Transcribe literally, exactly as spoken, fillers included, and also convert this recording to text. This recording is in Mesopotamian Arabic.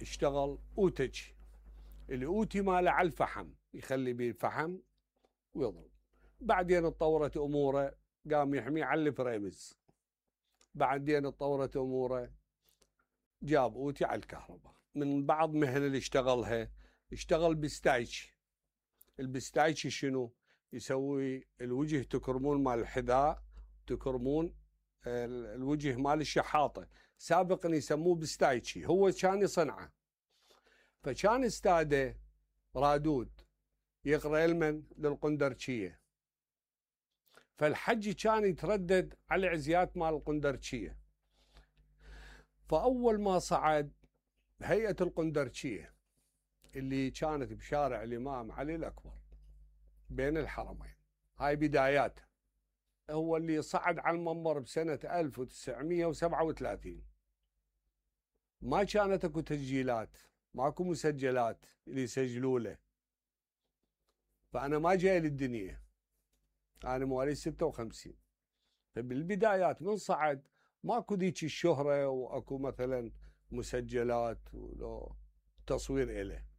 اشتغل اوتج، الاوتي ماله على الفحم، يخلي بيه الفحم ويضرب. بعدين اتطورت اموره قام يحميه على الفريمز. بعدين اتطورت اموره جاب اوتي على الكهرباء. من بعض مهن اللي اشتغلها، اشتغل بستايتش. البستايتش شنو؟ يسوي الوجه تكرمون مال الحذاء، تكرمون الوجه مال الشحاطه، سابقا يسموه بستايتشي، هو كان يصنعه. فكان استاذه رادود يقرا لمن؟ للقندرشيه. فالحجي كان يتردد على العزيات مال القندرشيه. فاول ما صعد هيئه القندرشيه اللي كانت بشارع الامام علي الاكبر بين الحرمين، هاي بداياته. هو اللي صعد على المنبر بسنه ألف وتسعمئة وسبعة وثلاثين. ما كانت اكو تسجيلات، ماكو مسجلات اللي يسجلوا له. فانا ما جاي للدنيا، انا مواليد ستة وخمسين. فبالبدايات من صعد ماكو ذيك الشهره، واكو مثلا مسجلات ولو تصوير إله.